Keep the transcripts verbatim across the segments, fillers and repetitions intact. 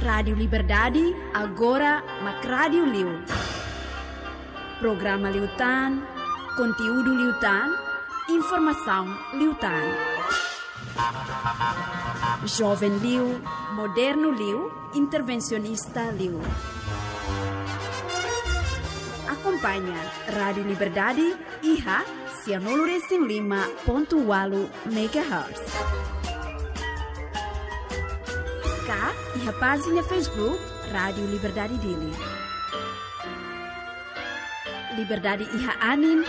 Rádiu Liberdade, agora mak rádiu liu. Programa liután, konteúdu liután, informasaun liután. Joven liu, modernu liu, intervensionista liu. Akompaña Rádiu Liberdade iha sianulu resin lima pontu ualu megahertz. Ka iha pájina Facebook Rádiu Liberdade Dili. Liberdade iha anin,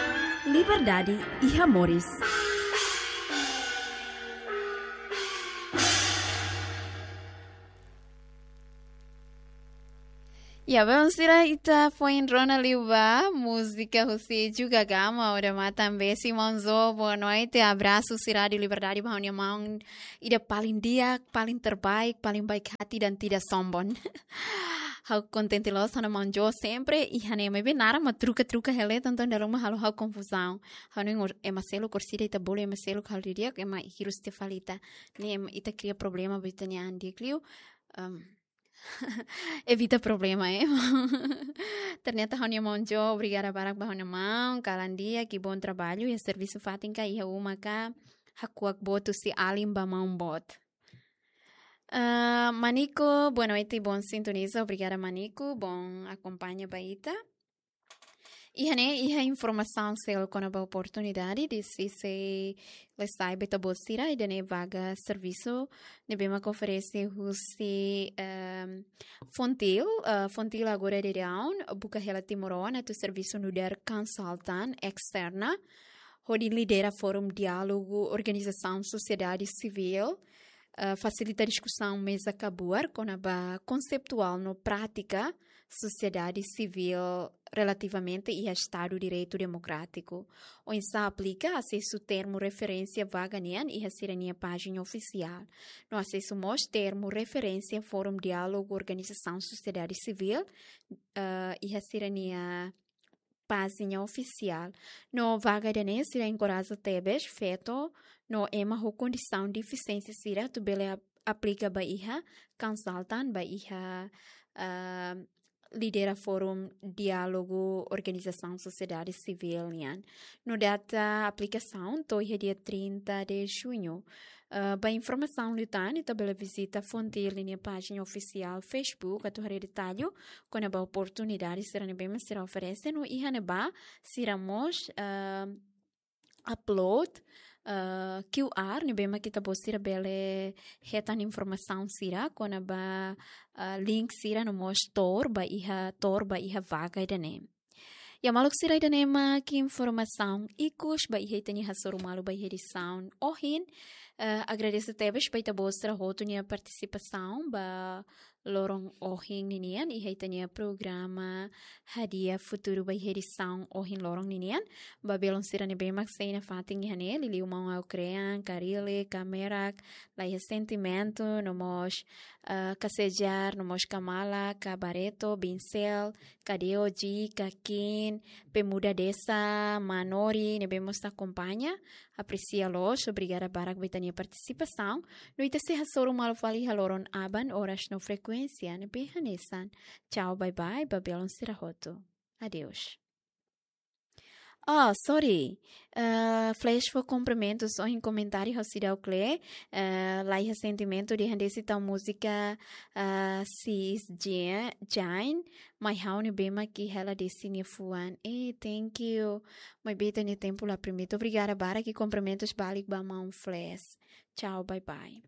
liberdade iha moris. Ya, belun sira, ita foin rona liu ba múzika husi Juga Gama, Odamatan Besi. Maun Zo, boa noite, abrasu husi Rádiu Liberdade ba ha'u-nia maun ida paling di'ak, paling terbaik, paling baik hati dan tidak sombong. Ha'u kontente loos ona maun Zo sempre, iha ne'e maibé naran mak truka-truka hela, entaun dala ruma halo ha'u konfuzaun. Ha'u hanoin ema seluk orsida ita bolu ema seluk halo di'ak, ema hirus tiha fali ita. Ne'e ema ita kria problema ba ita-nia an di'ak liu. Em, evita problema, eh. Ternyata ha'u-nia maun Zo, obrigada barak ba ha'u-nia maun, kalan di'ak, i bom trabalho, iha servisu fatin ka, iha uma ka, hakuak boot husi alin ba maun boot. Eh, Manico, boa noite, bom sintoniza, obrigada Manico, bom akompaña ba ita. Iha ne'e, iha informasaun seluk kona-ba oportunidade, desde sei lesa ba ita-boot sira, ida-ne'e vaga servisu ne'ebé mak oferese husi, ehm, Fontil, eh, Fontil agora daudaun buka hela timoroan atu servisu nu'udar konsultan esterna, hodi lidera forum diálogu organizasaun sosiedade sivíl, eh, fasilita diskusaun meza kabuar kona-ba konseptuál no prátika sosiedade sivíl relativamente iha Estadu Direitu Demokrátiku. Oinsá aplika asesu termu referénsia vaga nian iha sira-nia pájina ofisiál. No asesu mós termu referénsia forum diálogu organizasaun sosiedade sivíl, eh, iha sira-nia pájina ofisiál. No vaga ida-ne'e sira enkoraja tebes feto no ema ho kondisaun defisiénsia sira atu bele ap-, aplika ba iha konsultan, ba iha, ah, lidera forum diálogu organizasaun sosiedade sivíl nian. No data aplikasaun to'o iha dia trinta de junho. Ah, ba informasaun liután, ita bele vizita Fontil nia pájina ofisiál Facebook atu haree detallu kona-ba oportunidade sira ne'ebé mak sira oferese no iha ne'ebá sira mós, ah, upload, ah, Q R ne'ebé mak ita-boot sira bele hetan informasaun sira kona-ba, ah, link sira no mós tuur ba iha, tuur ba iha vaga ida-ne'e. Ya maluk sira, ida-ne'e mak informasaun ikus ba iha ita-nia hasoru malu ba iha edisaun ohin. Eh, agradese tebes ba ita-boot sira hotu nia partisipasaun ba loron ohin ninian iha ita-nia programa Hadi'a Futuru ba iha edisaun ohin loron ninian. Ba belun sira ne'ebé mak sei nafatin iha ne'e, liuliu maun Aukrean, Karile, Kamerak, Laiha Sentimentu, no mós, eh, Kasejar, no mós Kamala, Kabareto, Binsel, Kadeoji, Kakin, Pemuda Desa, Manori, ne'ebé mós akompaña, apresia loos, obrigada barak ba ita-nia partisipasaun. No ita sei hasoru malu fali iha loron aban, oras no frekuénsia ne'ebé hanesan. Tchau, bye bye, ba belun sira hotu. Adeus. Oh, sorry. Eh, flash fó kumprimentus, ohin komentáriu ha'u seidauk lee. Eh, Laiha Sentimentu dehan desi tau múzika, eh, Sis Jane, Jane, mai ha'u ne'ebé mak hela desi nia fuan. Eh, thank you. Maibé ita-nia tempu la permite. Obrigada barak i kumprimentus balik ba maun Flash. Tchau, bye bye.